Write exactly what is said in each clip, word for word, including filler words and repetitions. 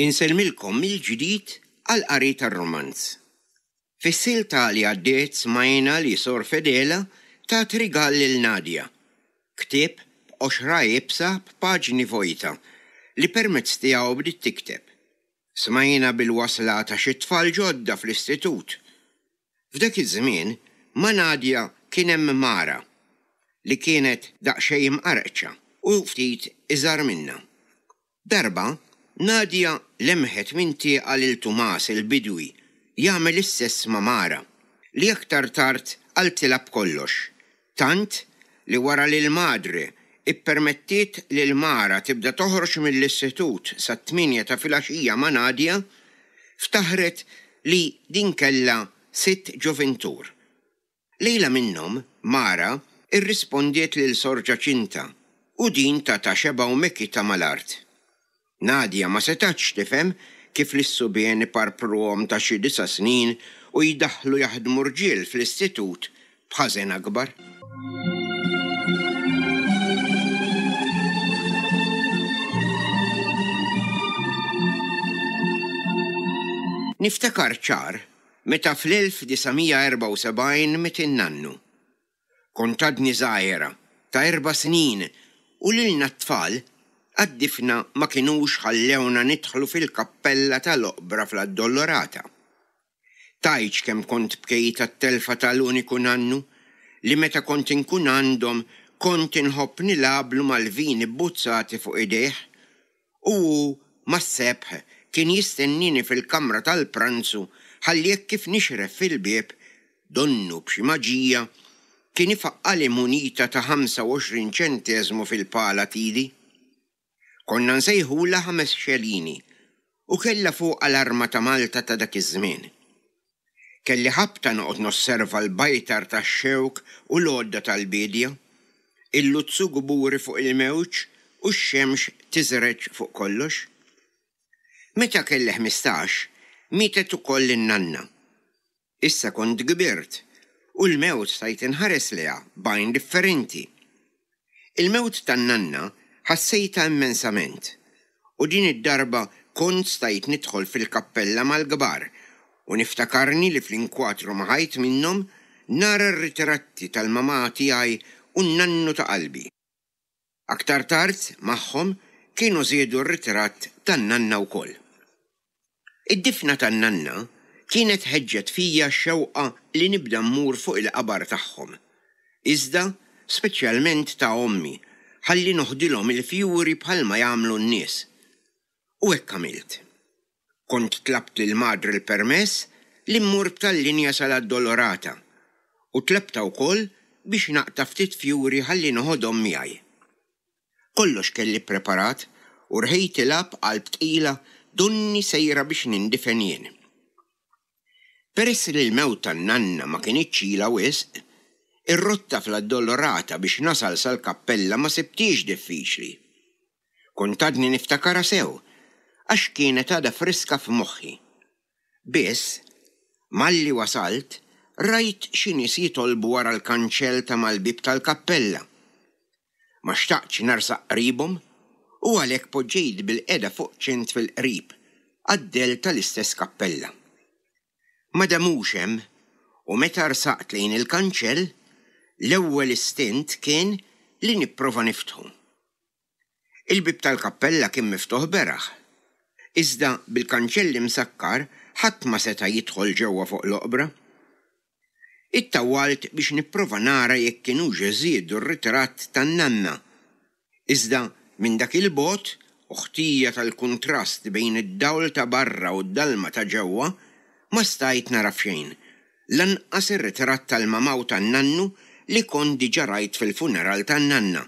Insellmilkom mill-ġdid għall-qari tar-rumanz. Fis-silta li għaddiet smajna li Sor Fedela tat rigal lil Nadia, ktieb b'qoxra iebsa b'paġni vojta li permezz tiegħu bdiet tikteb. Smajna bil-wasla ta' xi tfal ġodda fl-istitut. F'dak iż-żmien ma' Nadia kien hemm Mara li kienet daqsxejn imqarqċa u ftit iżgħar minnha. Darba Nadia lemħet minn tieqa lil Tumas il-bidwi jagħmel is-sess ma' Mara, li aktar tard qaltilha b'kollox, tant li wara li l-madre ippermettiet lil Mara tibda toħroġ mill-istitut sat-tmienja ta' filgħaxija ma' Nadia, ftaħret li din kellha sitt ġoventur. Lejla minnhom Mara irrispondiet lil Sor Ġaċinta u din tatha xebgħa u mekitha mal-art. Nadia ma setatx tifhem kif lis-subien iparpruhom ta' xi disa' snin u jdaħħlu jaħdmu rġiel fl-istitut b'ħażen akbar. Niftakar ċar meta fl-elf disa' mija erbgħa u sebgħin miet in-nannu. Kont għadni żgħira ta' erba' snin u lilna t-tfal għad-difna ma kinux ħallewna nidħlu fil-kappella tal-oqbra fl-Addolorata. Tgħidx kemm kont bkejt għat-telfa tal-uniku nannu li meta kont inkun għandhom kont inħobb nilagħblu mal-vini bbuzzati fuq idejh u hu mas-sebħ kien jistennini fil-kamra tal-pranzu ħalli hekk kif nixref fil-bieb donnu b'xi maġija kien ifaqqali munita ta' ħamsa u għoxrin ċenteżmu fil-pala t'idi. Konna nsejħulha ħames xelini u kellha fuqha l-arma ta' Malta ta' dak iż-żmien. Kelli ħabta noqgħod nosserva l-bajtar tax-xewk u l-għodda tal-bidja, il-luzzu gburi fuq il-mewġ u x-xemx tiżreġ fuq kollox. Meta kelli ħmistax, mietet ukoll in-nanna. Issa kont kbirt u l-mewt stajt inħares lejha b'għajn differenti. Il-mewt tan-nanna ħassejtha immensament u din id-darba kont stajt nidħol fil-kappella mal-kbar u niftakarni li fl-inkwatru ma' ħajt minnhom nara r-ritratti tal-mamà tiegħi u n-nannu ta' qalbi. Aktar tard magħhom kienu żiedu r-ritratt tan-nanna wkoll. Id-difna tan-nanna kienet ħeġġet fija x-xewqa li nibda mmur fuq il-qabar tagħhom. Iżda speċjalment ta' ommi, ħalli noħdilhom il-fjuri bħalma jagħmlu n-nies. U hekk għamilt. Kont tlabt lil madre l-permess li mmur b'tal-linja sal-Addolorata u tlabta wkoll biex naqta' ftit fjuri ħalli noħodhom miegħi. Kollox kelli ppreparat u rħejtilha b'qalb tqila donni sejra biex nindifen jien. Peress li l-mewt tan-nanna ma kinitx ilha wisq, ir-rotta fl-Addolorata biex nasal sal-kappella ma sibtix diffiċli. Kont għadni niftakarha sew, għax kienet għadha friska f'moħħi. Biss, malli wasalt, rajt xi nies jitolbu wara l-kanċell ta' mal-bieb tal-kappella. Ma xtaqtx narsaq qribhom u għalhekk poġġejt bil-qeda fuq ċint fil-qrib, għad-del tal-istess kappella. Ma damux hemm, u meta rsaqt lejn il-kanċell, l-ewwel istint kien li nipprova niftħu. Il-bieb tal-kappella kien miftuħ beraħ. Iżda bil-kanċell imsakkar ħadd ma seta' jidħol ġewwa fuq l-oqbra. Ittawwalt biex nipprova nara jekk kienux żiedu r-ritratt tan-nanna. Iżda minn dak il-bogħod u ħtija tal-kuntrast bejn id-dawl ta' barra u d-dalma ta' ġewwa ma stajt nara f'xejn, lanqas ir-ritratt tal-mamà u tan-nannu li kont diġà rajt fil-funeral tan-nanna.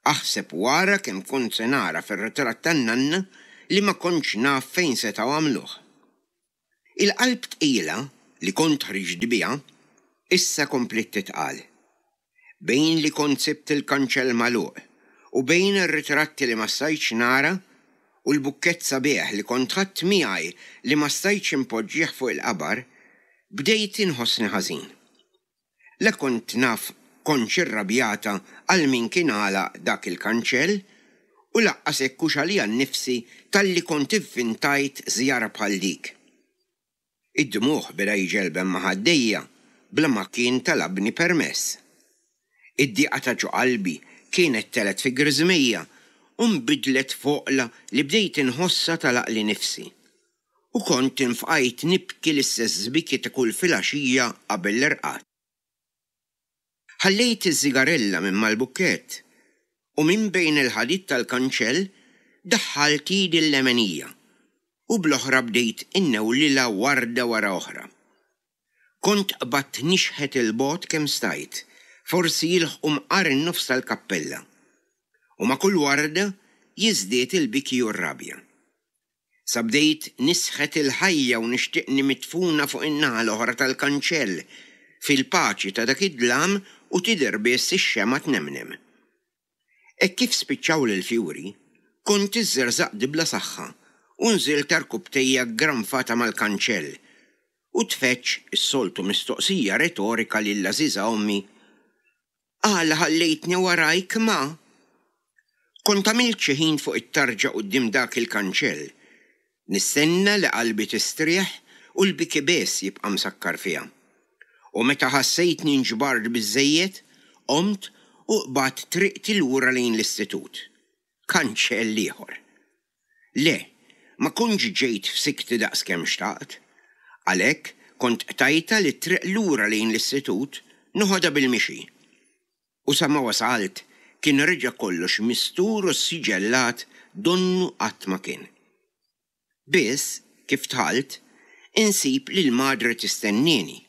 Aħseb wara kemm kont se nara fir-ritratt tan-nanna li ma kontx naf fejn setgħu għamluh. Il-qalb tqila li kont ħriġt biha issa kompliet titqal. Bejn li kont sibt il-kanċell magħluq u bejn ir-ritratti li ma stajtx nara u l-bukkett sabiħ li kont ħadt miegħi li ma stajtx impoġġih fuq il-qabar, bdejt inħossni ħażin. La kont naf kontx irrabjata għal min kien għalaq dak il-kanċell U lanqas hekk hux għalija nnifsi talli kont ivvintajt żjara bħal dik. Id-dmugħ beda jġelben ma' ħaddejja bla ma kien talabni permess. Id-diqa ta' ġo qalbi kienet telgħet fi griżmejja u nbidlet f'għoqla li bdejt inħossha tagħlaqli nifsi. U kont infqajt nibki l-istess biki ta' kull filgħaxija qabel l-irqad. Ħallejt iż-żigarella minn mal-bukkett u minn bejn il-ħadid tal-kanċell daħħalt idi l-lemenija u bl-oħra bdejt innewlilha warda wara oħra. Kont qbadt nixħet 'il bogħod kemm stajt, forsi jilħqu mqar in-nofs tal-kappella. U ma' kull warda jiżdied il-biki u r-rabja. Sa bdejt nisħet il-ħajja u nixtieqni midfuna fuq in-naħa l-oħra tal-kanċell, fil-paċi ta' dak id-dlam u tidher biss ix-xemgħa tnemnem. Hekk kif spiċċawli l-fjuri, kont iżżerżaqt bla saħħa u nżilt għarkupptejja ggranfata mal-kanċell u tfeġġ is-soltu mistoqsija retorika lill-għażiża ommi, Għala ħallejtni warajk, ma? Kont għamilt xi ħin fuq it-tarġa quddiem dak il-kanċell, nistenna li qalbi tistrieħ u l-biki biss jibqa' msakkar fiha. U meta ħassejtni nġbart biżżejjed, qomt u qbadt triqti lura lejn l-istitut. Kanċell ieħor. Le, ma kontx ġejt f'sikti daqskemm xtaqt. Għalhekk kont qtajtha li t-triq lura lejn l-istitut noħodha bil-mixi. U sa ma wasalt kien reġa' kollox mistur u ssiġellat donnu qatt ma kien. Biss, kif dħalt, insib lil madre tistennieni.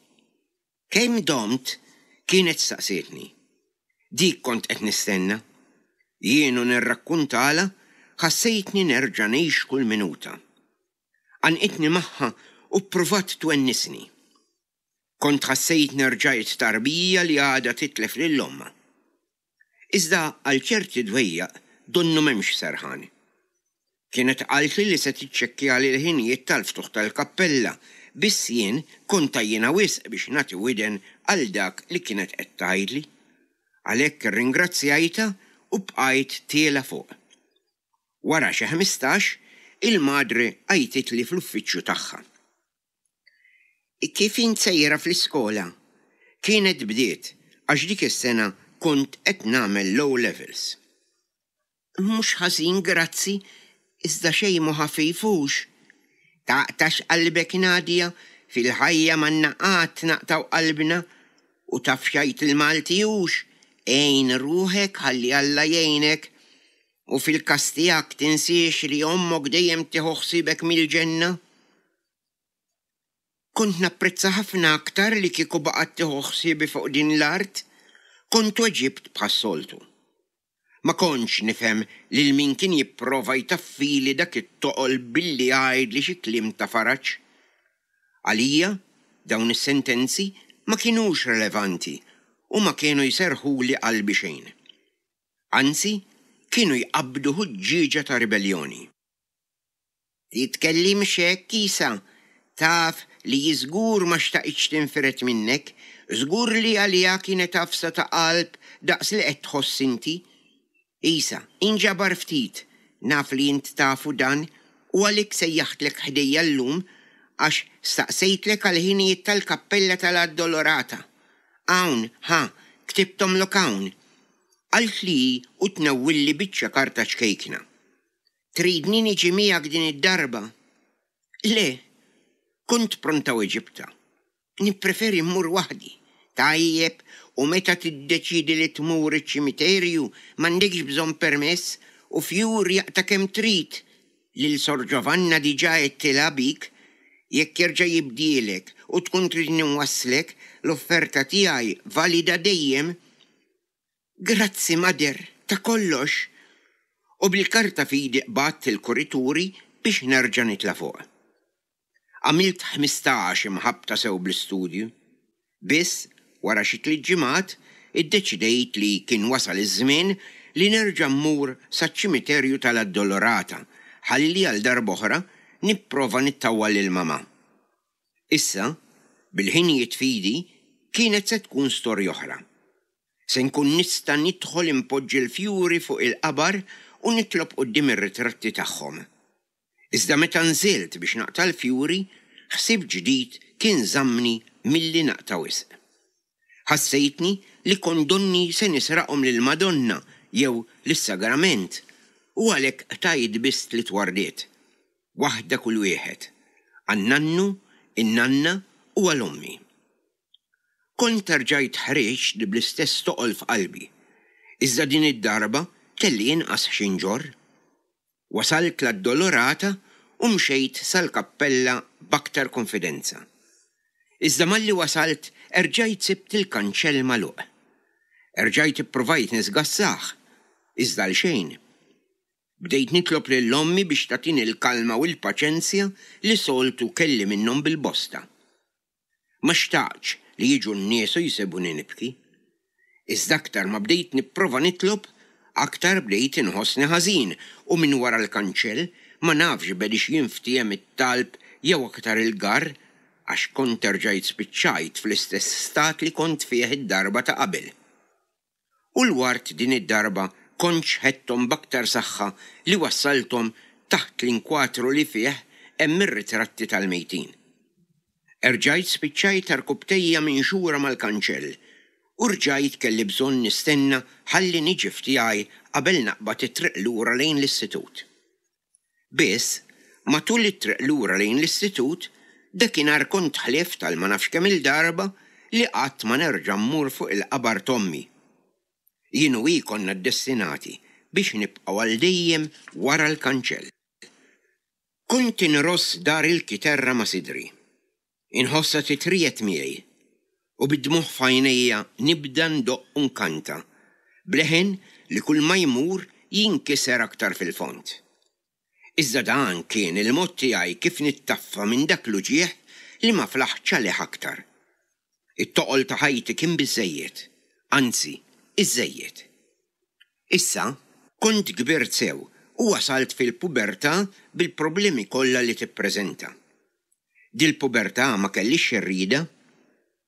Kemm domt? Kienet staqsietni. Dik kont qed nistenna. Jien u nirrakkuntalha ħassejtni nerġa' ngħix kull minuta. Għannqitni magħha u ppruvat twennisni. Kont ħassejtni rġajt tarbija li għadha titlef lil ommha. Iżda għal ċerti dwejjaq donnu m'hemmx serħan. Kienet qaltli li se tiċċekkjali l-ħinijiet tal-ftuħ tal-kappella, biss jien kont għajjiena wisq biex nagħti widen għal dak li kienet qed tgħidli. Għalhekk irringrazzjajtha u bqajt tiela' fuq. Wara xi ħmistax, il-madre għajtitli fl-uffiċċju tagħha. Kif int sejra fl-iskola? Kienet bdiet għax dik is-sena kont qed nagħmel l-O Levels. Mhux ħażin grazzi, iżda xejn mhu ħafif hux. Taqtax qalbek Nadia, fil-ħajja m'għandna qatt naqtgħu qalbna u taf x'jgħid il-Malti hux, għin ruħek ħalli Alla jgħinek. U fil-każ tiegħek tinsiex li ommok dejjem tieħu ħsiebek mill-ġenna. Kont napprezza ħafna aktar li kieku baqgħet tieħu ħsiebi fuq din l-art, kont weġibt bħas-soltu. Ma kontx nifhem lil min kien jipprova jtaffili dak it-toqol billi jgħidli xi kliem ta' faraġ. Għalija, dawn is-sentenzi ma kinux relevanti u ma kienu jserrħuli qalbi xejn. Anzi, kienu jqabbdu ħuġġieġa ta' ribelljoni. Titkellimx hekk, Isa, taf li hi żgur ma xtaqitx tinfired minnek, żgur li għaliha kienet għafsa ta' qalb daqs li qed tħoss inti. Isa, inġabar ftit, naf li int tafu dan u għalhekk sejjaħtlek ħdejja llum għax staqsejtlek għall-ħinijiet tal-kappella tal-Addolorata. Hawn, ħa, ktibthomlok hawn. Qaltli hi u tnewwilli biċċa karta ċkejkna. Tridni niġi miegħek din id-darba? Le, kont pronta weġibtha. Nippreferi mmur waħdi. Tajjeb, u meta tiddeċiedi li tmur iċ-ċimiterju m'għandekx bżonn permess u fjuri aqta' kemm trid. Lil Sor Giovanna diġà għedtilha bik. Jekk jerġa' jibdielek u tkun tridni nwasslek, l-offerta tiegħi valida dejjem. Grazzi, Mother, ta' kollox. U bil-karta f'idi qbadt il-kurituri biex nerġa' nitla' fuq. Għamilt ħmistax imħabbta sew bl-istudju. Biss, wara xi tliet ġimgħat, iddeċidejt li kien wasal iż-żmien li nerġa' mmur saċ-ċimiterju tal-Addolorata ħalli għal darb'oħra nipprova nittawwal lil mamà. Issa, bil-ħinijiet f'idi, kienet se tkun storja oħra. Se nkun nista' nidħol inpoġġi l-fjuri fuq il-qabar u nitlob quddiem ir-ritratti tagħhom. Iżda meta nżilt biex naqta' l-fjuri, ħsieb ġdid kien żammni milli naqta' wisq. Ħassejtni li kont donni se nisraqhom lill-Madonna jew lis-Sagrament u għalhekk qtajt biss tliet wardiet, waħda kull wieħed, għan-nannu, in-nanna u għal ommi. Kont erġajt ħriġt bl-istess toqol f'qalbi, iżda din id-darba kelli inqas xi nġorr. Wasalt l-Addolorata u mxejt sal-kappella b'aktar konfidenza. Iżda malli wasalt erġajt sibt il-kanċell magħluq. Erġajt ippruvajt nisgassah, iżda għal xejn. Bdejt nitlob lil ommi biex tagħtini l-kalma u l-paċenzja li soltu kelli minnhom bil-bosta. Ma xtaqtx li jiġu n-nies u jsibuni nibki. Iżda aktar ma bdejt nipprova nitlob, aktar bdejt inħossni ħażin u minn wara l-kanċell ma nafx bediex jinftiehem it-talb jew aktar il-garr għax kont erġajt spiċċajt fl-istess stat li kont fih id-darba ta' qabel. U l-ward din id-darba kont xħetthom b'aktar saħħa li wassalthom taħt l-inkwatru li fih hemm ir-ritratti tal-mejtin. Erġajt spiċċajt għarkupptejja minxura mal-kanċell u rġajt kelli bżonn nistenna ħalli niġi f'tiegħi qabel naqbad it-triq lura lejn l-istitut. Biss, matul it-triq lura lejn l-istitut, dakinhar kont ħlift għal ma nafx kemm-il darba li qatt ma nerġa' mmur fuq il-qabar t'ommi. Jien u hi konna ddestinati biex nibqgħu għal dejjem wara l-kanċell. Kont inross dar il-kiterra ma' sidri. Inħossha titriegħed miegħi u bid-dmugħ f'għajnejja nibda ndoqq u nkanta, b'leħen li kull ma jmur jinkiser aktar fil-fond. Iżda dan kien il-mod tiegħi kif nittaffa minn dak l-uġigħ li ma flaħtx għalih aktar. It-toqol ta' ħajti kien biżżejjed, anzi, iżżejjed. Issa, kont kbirt sew u wasalt fil-pubertà bil-problemi kollha li tippreżenta. Dil-pubertà ma kellix irridha.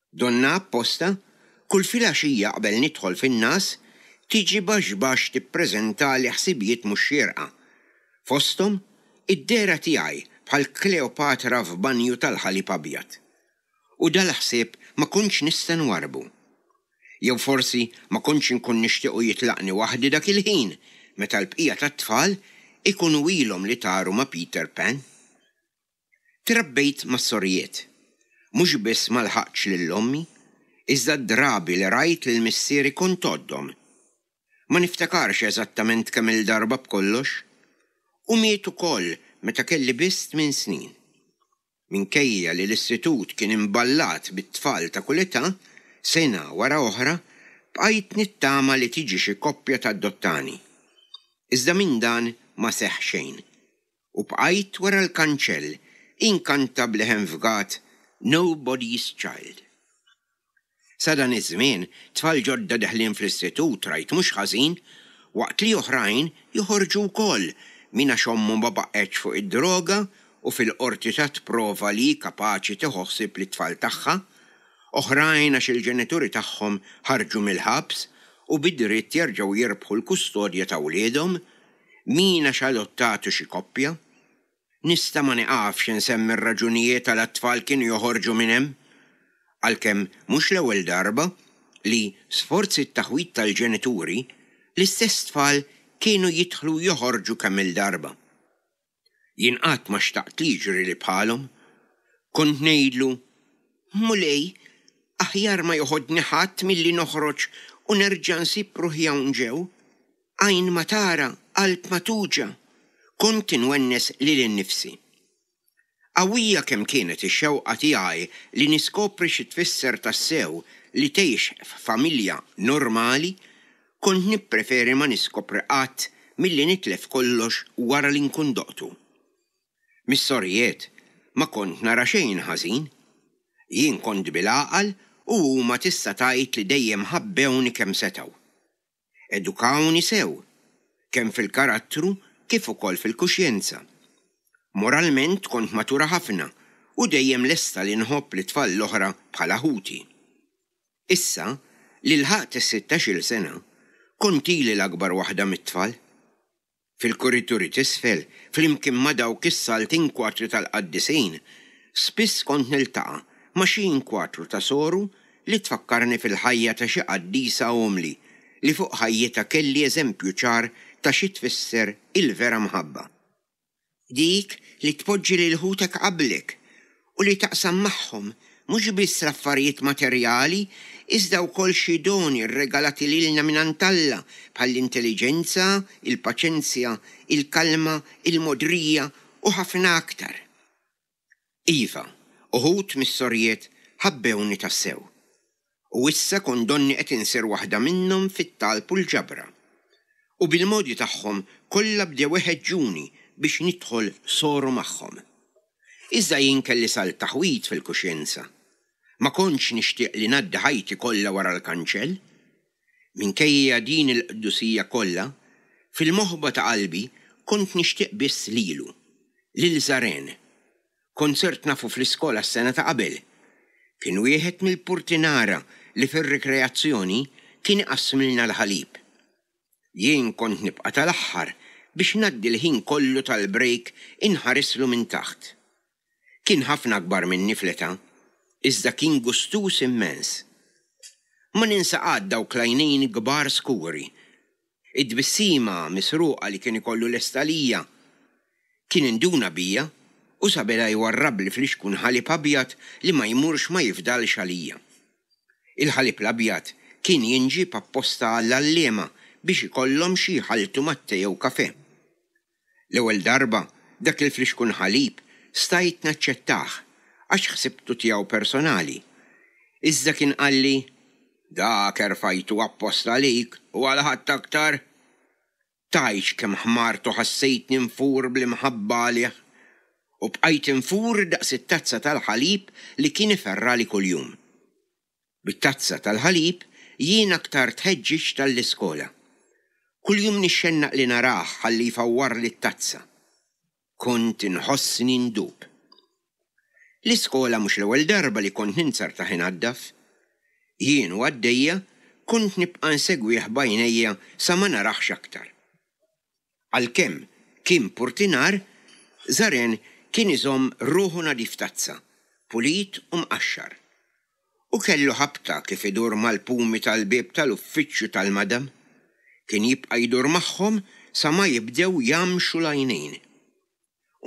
Donnha apposta, kull filgħaxija qabel nidħol fin-ngħas, tiġi baxx baxx tippreżentali ħsibijiet mhux xierqa. Fosthom, id-dehra tiegħi bħal Kleopatra f'banju tal-ħalib abjad. U dal-ħsieb ma kontx nista' nwarrbu. Jew forsi ma kontx inkun nixtiequ jitlaqni waħdi dak il-ħin meta l-bqija tat-tfal ikunu ilhom li taru ma' Peter Pan. Trabbejt mas-sorijiet. Mhux biss ma lħaqtx lil ommi, iżda d-drabi li rajt lil missieri kont għoddhom. Ma niftakarx eżattament kemm-il darba b'kollox. U miet ukoll meta kelli biss tmien snin. Minkejja li l-istitut kien imballat bit-tfal ta' kull età, sena wara oħra, bqajt nittama li tiġi xi koppja tadottani. Iżda minn dan ma seħħ xejn. U bqajt wara l-kanċell inkanta b'leħen fgat Nobody's Child. Sa dan iż-żmien, tfal ġodda deħlin fl-istitut rajt mhux ħażin, waqt li oħrajn joħorġu wkoll min għax ommu ma baqgħetx fuq id-droga u fil-qorti tat prova li hi kapaċi tieħu ħsieb lit-tfal tagħha, oħrajn għax il-ġenituri tagħhom ħarġu mill-ħabs u bi dritt jerġgħu jirbħu l-kustodja ta' wliedhom, min għax adottatu xi koppja. Nista' ma nieqafx insemmi r-raġunijiet għala t-tfal kienu joħorġu minn hemm. Għalkemm mhux l-ewwel darba li, sforz it-taħwid tal-ġenituri, l-istess tfal kienu jidħlu u joħorġu kemm-il darba. Jien qatt ma xtaqt li jiġrili bħalhom. Kont ngħidlu, Mulej, aħjar ma joħodni ħadd milli noħroġ u nerġa' nsib ruħi hawn ġew. Għajn ma tara, qalb ma tuġa'. Kont inwennes lili nnifsi. Qawwija kemm kienet ix-xewqa tiegħi li niskopri xi tfisser tassew li tgħix f'familja normali, kont nippreferi ma niskopri qatt milli nitlef kollox wara li nkun doqtu. Mis-sorijiet ma kont nara xejn ħażin. Jien kont bil-għaqal u huma tista' tgħid li dejjem ħabbewni kemm setgħu. Edukawni sew, kemm fil-karattru kif ukoll fil-kuxjenza. Moralment kont matura ħafna u dejjem lesta li nħobb lit-tfal l-oħra bħala ħuti. Issa li lħaqt is-sittax-il sena, kont ili l-akbar waħda mit-tfal. Fil-kurituri t'isfel, flimkien ma' dawk is-salt inkwatri tal-qaddisin, spiss kont niltaqa' ma' xi inkwatru ta' soru li tfakkarni fil-ħajja ta' xi qaddisa umli li fuq ħajjitha kelli eżempju ċar ta' xi tfisser il-vera mħabba. Dik li tpoġġi lil ħutek qablek u li taqsam magħhom mhux biss l-affarijiet materjali iżda wkoll xi doni rregalati lilna mingħand Alla bħall-intelliġenza, il-paċenzja, il-kalma, il-mogħdrija u ħafna aktar. Iva, uħud mis-sorijiet ħabbewni tassew. U issa kont donni qed insir waħda minnhom fit-talb u l-ġabra. U bil-modi tagħhom kollha bdew iħeġġuni biex nidħol soru magħhom. Iżda jien kelli salt taħwid fil-kuxjenza. Ma kontx nixtieq li ngħaddi ħajti kollha wara l-kanċell. Minkejja din il-qdusija kollha, fil-moħba ta' qalbi kont nixtieq biss lilu, lil Żaren. Kont sirt nafu fl-iskola s-sena ta' qabel. Kien wieħed mill-purtinara li fir-rikreazzjoni kien iqassmilna l-ħalib. Jien kont nibqa' tal-aħħar biex ngħaddi l-ħin kollu tal-break inħarislu minn taħt. Kien ħafna akbar minni fl-età, iżda kien gustuż immens. Ma ninsa qatt dawk l-għajnejn kbar skuri. It-tbissima misruqa li kien ikollu lesta għalija. Kien induna bija u sa beda jwarrabli flixkun ħalib abjad li ma jmurx ma jifdalx għalija. Il-ħalib l-abjad kien jinġieb apposta għall-għalliema biex ikollhom xi jħalltu mat-te jew kafè. L-ewwel darba dak il-flixkun ħalib stajt naċċettah għax ħsibtu tiegħu personali. Iżda kien qalli, dak erfajtu apposta għalik u għal ħadd aktar. Tgħidx kemm ħmart u ħassejtni nfur bl-imħabba għalih u bqajt infur daqs it-tazza tal-ħalib li kien iferrali kuljum. Bit-tazza tal-ħalib jien aktar tħeġġiġt għall-iskola. Kuljum nixxennaq li narah ħalli jfawwarli t-tazza. Kont inħossni ndub. L-iskola mhux l-ewwel darba li kont ninzertah inaddaf. Jien u għaddejja kont nibqa' nsegwih b'għajnejja sa ma narahx aktar. Għalkemm kien purtinar, Żaren kien iżomm ruħu nadif tazza, pulit u mqaxxar. U kellu ħabta kif idur mal-pumi tal-bieb tal-uffiċċju tal-madam. Kien jibqa' jdur magħhom sa ma jibdew jamxu l-għajnejn.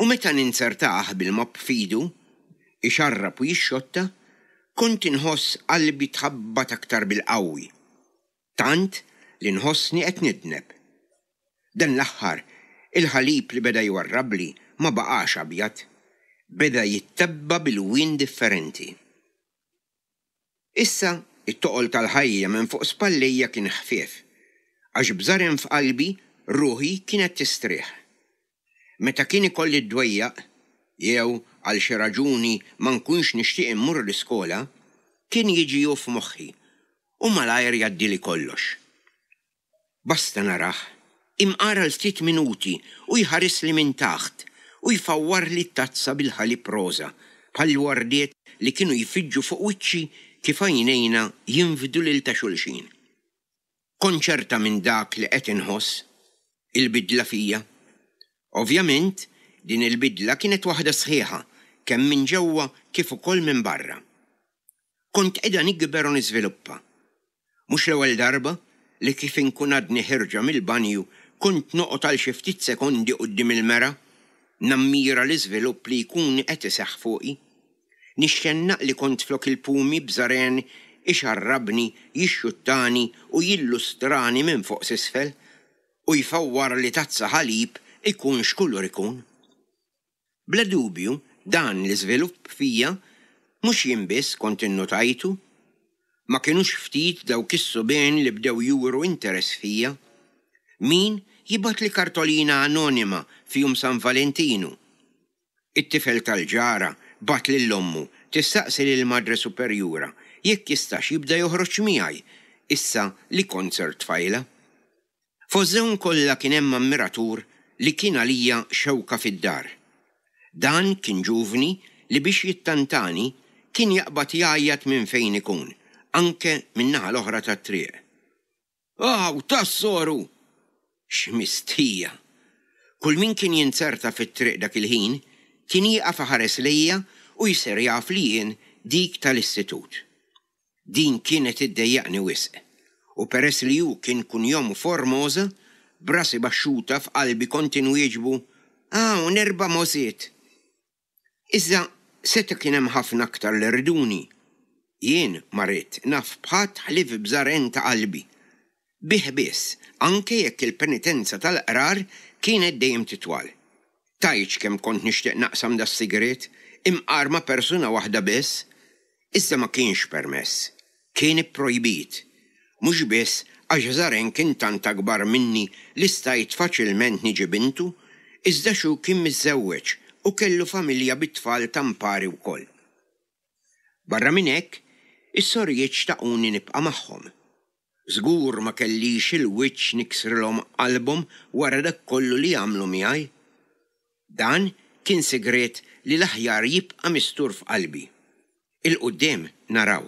U meta ninzertah bil-mopp f'idu, ixarrab u jixxotta, kont inħoss qalbi tħabbat aktar bil-qawwi, tant li nħossni qed nidneb. Dan l-aħħar, il-ħalib li beda jwarrabli ma baqax abjad, beda jittabba bil-wien differenti. Issa, it-toqol tal-ħajja minn fuq spallejja kien ħfief, għax b'żaren f'qalbi ruħi kienet tistrieħ. Meta kien ikolli d-dwejjaq, jew għal xi raġuni ma nkunx nixtieq immur l-iskola, kien jiġi hu f'moħħi u malajr jgħaddili kollox. Basta narah, imqar għal ftit minuti u jħarisli minn taħt u jfawwarli t-tazza bil-ħalib roża bħall-wardiet li kienu jfiġġu fuq wiċċi kif għajnejna jinfdu lil ta' xulxin. Kont ċerta minn dak li qed inħoss, il-bidla fija. Ovvjament, din il-bidla kienet waħda sħiħa, kemm minn ġewwa kif ukoll minn barra. Kont qiegħda nikber u niżviluppa. Mhux l-ewwel darba li kif inkun għadni ħirġa mill-banju kont noqgħod għal xi ftit sekondi quddiem il-mera, nammira l-iżvilupp li jkun qed iseħħ fuqi. Nixxennaq li kont flok il-pumi b'żaren ixarrabni, jixxuttani u jillustrani minn fuq s'isfel u jfawwarli tazza ħalib ikun x'kulur ikun. Bla dubju, dan l-iżvilupp fija mhux jien biss kont innotajtu. Ma kinux ftit dawk is-subien li bdew juru interess fija. Min jibgħatli kartolina anonima f'jum San Valentinu. It-tifel tal-ġara bagħat lil ommu tistaqsi lil Madre Superjura jekk jistax jibda joħroġ miegħi issa li kont sirt tfajla. Fost dawn kollha kien hemm ammiratur li kien għalija xewka fid-dar. Dan kien ġuvni li biex jittantani kien jaqbad jgħajjat minn fejn ikun, anke min-naħa l-oħra tat-triq. Aw, tas-soru! X'mistħija! Kull min kien jinzerta fit-triq dak il-ħin kien jieqaf iħares lejja u jsir jaf li jien dik tal-istitut. Din kienet iddejjaqni wisq, u peress li hu kien kunjomu Formosa, b'rasi baxxuta f'qalbi kont inwieġbu, "Hawn erba' mogħżiet." Iżda seta' kien hemm ħafna aktar li riduni. Jien ma ridt naf b'ħadd ħlief b'Żaren ta' qalbi. Bih biss, anke jekk il-penitenza tal-qrar kienet dejjem titwal. Tgħidx kemm kont nixtieq naqsam das-sigriet, imqar ma' persuna waħda biss. Iżda ma kienx permess. Kien ipprojbit. Mhux biss għax Żaren kien tant akbar minni li stajt faċilment niġi bintu, iżda xu kien miżżewweġ u kellu familja bit-tfal tampari wkoll. Barra minn hekk, is-sorijiet xtaquni nibqa' magħhom. Żgur ma kellix il-wiċċ niksrilhom qalbhom wara dak kollu li għamlu miegħi. Dan kien sigriet li l-aħjar jibqa' mistur f'qalbi. 'Il quddiem naraw.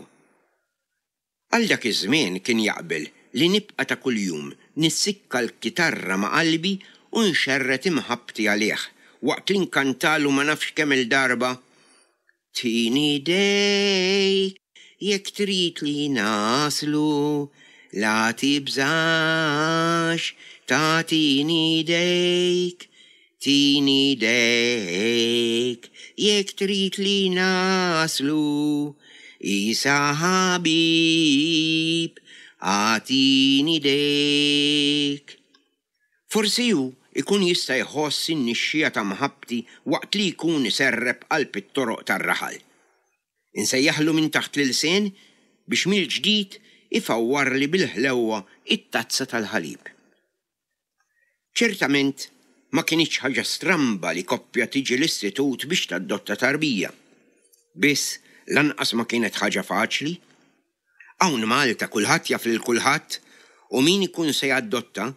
Għal dak iż-żmien kien jaqbel li nibqa' ta' kuljum nissikka l-kitarra ma' qalbi u nxerred imħabbti għalih waqt li nkantalu ma nafx kemm-il darba, Tini idejk jekk trid li naslu, la tibżax, tagħtini idejk, tini idejk jekk trid li naslu, Isa ħabib, agħtini idejk. Forsi hu ikun jista' jħoss in-nixxiegħa ta' mħabbti waqt li jkun iserrep qalb it-toroq tar-raħal. Insejjaħlu minn taħt l-ilsien biex mill-ġdid ifawwarli bil-ħlewwa it-tazza tal-ħalib. Ċertament ma kinitx ħaġa stramba li koppja tiġi l-istitut biex tadotta tarbija. Biss lanqas ma kienet ħaġa faċli. Hawn Malta kulħadd jaf lil kulħadd u min ikun se jaddotta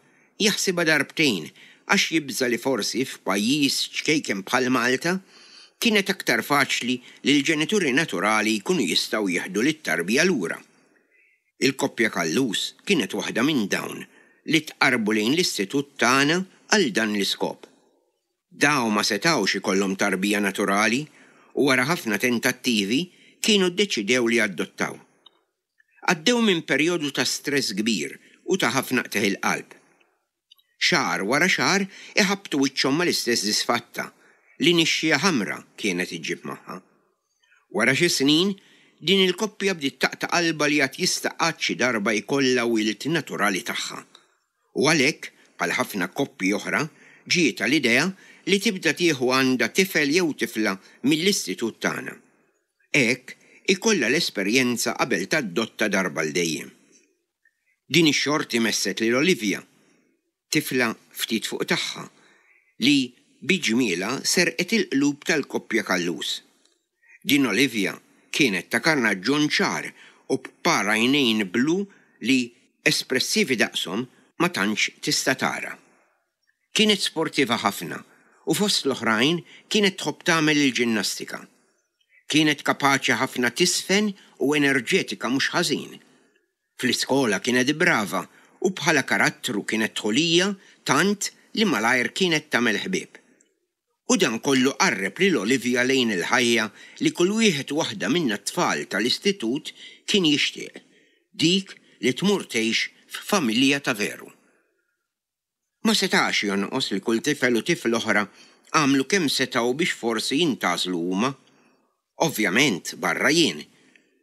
jaħsibha darbtejn għax jibża' li forsi f'pajjiż ċkejken bħal Malta kienet aktar faċli li l-ġenituri naturali jkunu jistgħu jieħdu lit-tarbija lura. Il-koppja Callus kienet waħda minn dawn li tqarrbu lejn l-istitut tagħna għal dan l-iskop. Dawn ma setgħux ikollhom tarbija naturali u wara ħafna tentattivi kienu ddeċidew li jaddottaw. Għaddew minn perjodu ta' stress kbir u ta' ħafna qtigħ il-qalb. Xahar wara xahar iħabbtu wiċċhom mal-istess disfatta li nixxija ħamra kienet iġġib magħha. Wara xi snin, din il-koppja bdiet taqta' qalbha li għad jista' qatt xi darba jkollha wild naturali tagħha. U għalhekk, bħal ħafna koppji oħra, ġietha l-idea li tibda tieħu għandha tifel jew tifla mill-istitut tagħna. Hekk ikollha l-esperjenza qabel tadotta darba l dejjem. Din ix-xorti messet lil Olivia, tifla ftit fuq tagħha, li bi ġmielha serqet il-qlub tal-koppja Callus. Din Olivia kienet ta' karnaġġon ċar u b'par għajnejn blu li espressivi daqshom ma tantx tista' tara. Kienet sportiva ħafna u fost l-oħrajn kienet tħobb tagħmel il-ġinnastika. Kienet kapaċi ħafna tisfen u enerġetika mhux ħażin. Fl-iskola kienet brava u bħala karattru kienet dħulija tant li malajr kienet tagħmel ħbieb. U dan kollu qarreb lil Olivia lejn il-ħajja li kull wieħed u waħda minna t-tfal tal-istitut kien jixtieq, dik li tmur tgħix f'familja ta' veru. Ma setax jonqos li kull tifel u tifla oħra għamlu kemm setgħu biex forsi jintgħażlu huma. Ovvjament barra jien.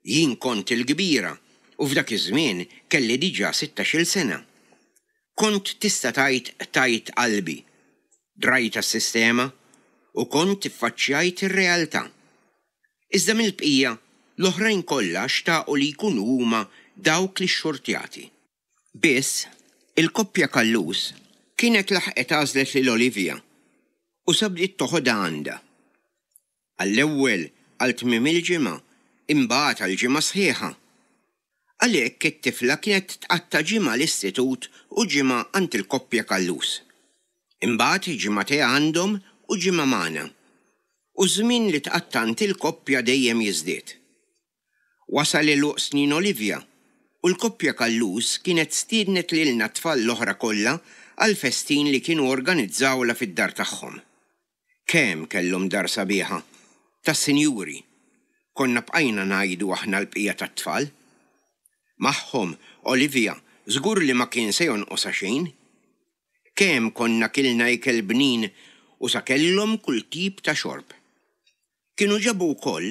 Jien kont il-kbira u f'dak iż-żmien kelli diġà sittax-il sena. Kont tista' tgħid qtajt qalbi, drajt għas-sistema u kont iffaċċjajt ir-realtà. Iżda mill-bqija, l-oħrajn kollha xtaqu li jkunu huma dawk li xxurtjati. Biss, il-koppja Callus kienet laħqet għażlet lil Olivia u sa bdiet toħodha għandha. Għall-ewwel għal tmiem il-ġimgħa, imbagħad għal ġimgħa sħiħa. Għalhekk it-tifla kienet tqatta' ġimgħa l-istitut u ġimgħa għand il-koppja Callus. Imbagħad ġimgħatej għandhom u ġimgħa magħna. U ż-żmien li tqatta' għand il-koppja dejjem jiżdied. Wasal għeluq snin Olivia u l-koppja Callus kienet stiednet lilna t-tfal l-oħra kollha għall-festin li kienu organizzawlha fid-dar tagħhom. Kemm kellhom dar sabiħa, tas-sinjuri, konna bqajna ngħidu aħna l-bqija tat-tfal. Magħhom, Olivia żgur li ma kien se jonqosha xejn. Kemm konna kilna ikel bnin u sa kellhom kull tip ta' xorb. Kienu ġabu wkoll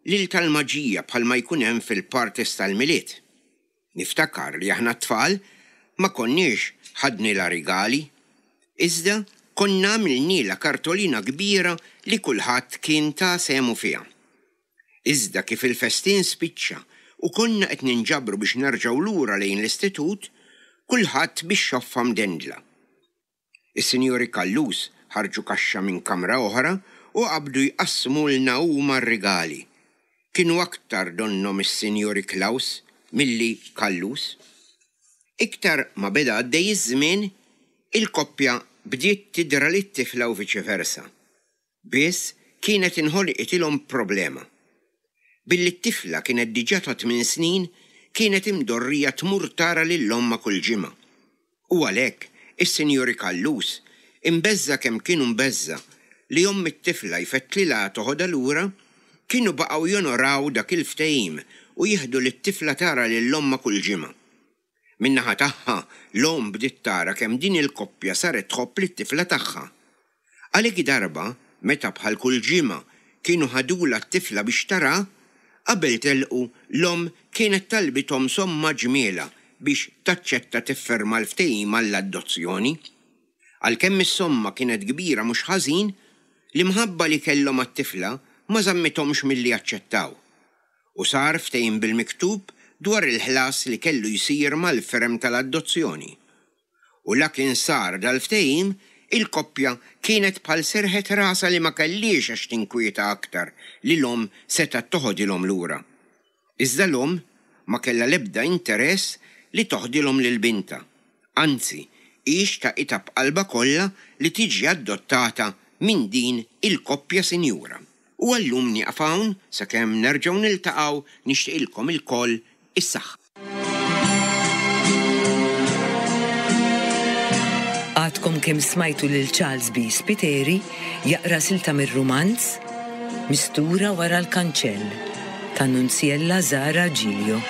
lil tal-maġija bħalma jkun hemm fil-parties tal-Milied. Niftakar li aħna t-tfal ma konniex ħadnilha rigali, iżda konna għamilnielha kartolina kbira li kulħadd kien ta sehmu fiha. Iżda kif il-festin spiċċa u konna qed ninġabru biex nerġgħu lura lejn l-istitut, kulħadd bix-xoffa mdendla. Is-Sinjuri Callus ħarġu kaxxa minn kamra oħra u qabdu jqassmulna huma r-rigali. Kienu aktar donnhom is-Sinjuri Klaus milli Callus. Iktar ma beda għaddej iż-żmien, il-koppja bdiet tidra lit-tifla u viċi versa. Biss kienet inħolqitilhom problema. Billi t-tifla kienet diġà ta' tmien snin, kienet imdorrija tmur tara lil ommha kull ġimgħa. U għalhekk, is-Sinjuri Callus, imbeżża' kemm kienu mbeżża' li omm it-tifla jfettlilha toħodha lura, kienu baqgħu jonoraw dak il-ftehim u jieħdu lit-tifla tara lil ommha kull ġimgħa. Min-naħa tagħha, l-omm bdiet tara kemm din il-koppja saret tħobb lit-tifla tagħha. Għalhekk darba, meta bħal kull ġimgħa kienu ħadulha t-tifla biex tara, qabel telqu l-omm kienet talbithom somma ġmielha biex taċċetta tifferma l-ftehim għall-adozzjoni. Għalkemm is-somma kienet kbira mhux ħażin, l-imħabba li kellhom għat-tifla ma żammithomx milli jaċċettaw. U sar ftehim bil-miktub dwar il-ħlas li kellu jsir mal-firem tal-adozzjoni. U la kien sar dal-ftehim, il-koppja kienet bħal serħet rasha li ma kellhiex għax tinkwieta aktar li l-omm setgħet toħodilhom lura. Iżda l-omm ma kellha l-ebda interess li toħdilhom lil bintha. Anzi, hi xtaqitha b'qalbha kollha li tiġi adottata minn din il-koppja sinjura. U għal-lum nieqaf hawn sakemm nerġgħu niltaqgħu nixtieqilkom ilkoll is-saħħa. Għadkom kemm smajtu lil Charles B. Spiteri jaqra silta mir-rumanz Mistura wara l-kanċell ta' Nunziella Zara Giglio.